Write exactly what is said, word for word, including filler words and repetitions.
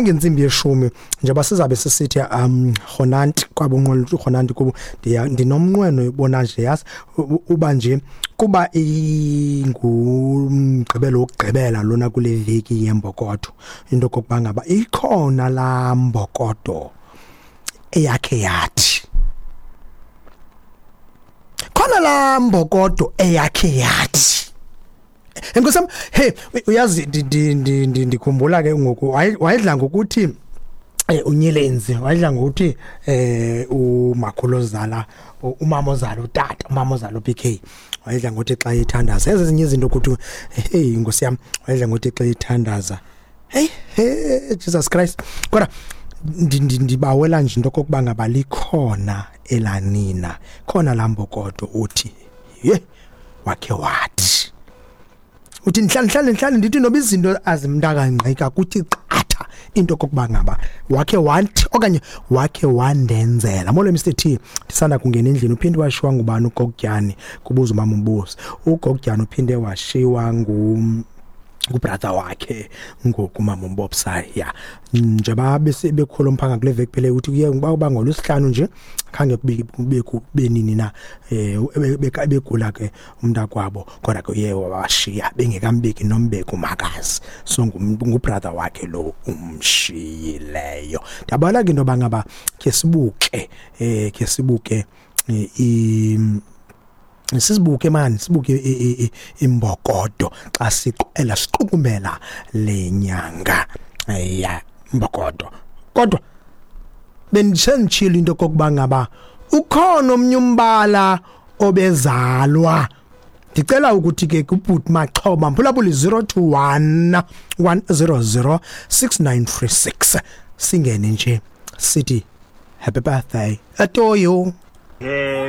Ngentsimbi yeshumi njengoba sizabe sisithi um rhonanti kwabo unqwelo rhonanti kubo, ndinomnqweno ubona nje, yazi, uba nje kuba ingumgqibelo wokugqibela lona kule veki yembokodo, into okokuba ngaba ikhona laa mbokodo eyakhe yathi, khona laa mbokodo eyakhe yathi. Enkosi yam, hey, uyazi, ndikhumbula ke ngoku wayedla ngokuthi eh unyelenzi, wayedla ngokuthi eh umakhulu ozala umama ozala utata, umama ozala u-P K, wayedla ngokuthi xa ethandaza ezinye izinto ukuthi, hey, inkosi yam, wayedla ngokuthi xa ethandaza, hey, hey, Jesus Christ. Kodwa ndibawela nje into okokuba ngaba likhona elanina khona lambokodo uthi ye wakhe wathi, uthi ndihlale ndihlale ndihlale ndithi noba izinto azimntakangqika kuthi qatha into okokuba ngaba wakhe wathi okanye wakhe wandenzela. Molo Mister T, ndisanda kungena endlini. Uphinde washiwa ngubani uGogyani? Kubuza umama umbuzo. UGogyani uphinde washiwa ngu ngubrother wakhe ngoku, mama umbobsa ya, njengoba bekhula umphanga kule veki phele, uthi kuye uba ngolwesihlanu nje, khange kube kube nini na eh begula ke umntakwabo, kodwa ke uye wabashiya bengekambeki nombeki umakazi. So ngubrother wakhe lo umshiyileyo. Ndiyabona ke into yoba ngaba ke sibuke eh ke sibuke i sizibuke mani, sibuke imbokodo xa siqela siqukumbela le nyanga ya mbokodo. Kodwa bendisenditshilo into kokuba ngaba ukhona omnye umbala obezalwa. Ndicela ukuthi ke kubhuti Maxhoba mphulaphuli zero two one one zero zero six nine three six, singene nje sithi happy birthday to you.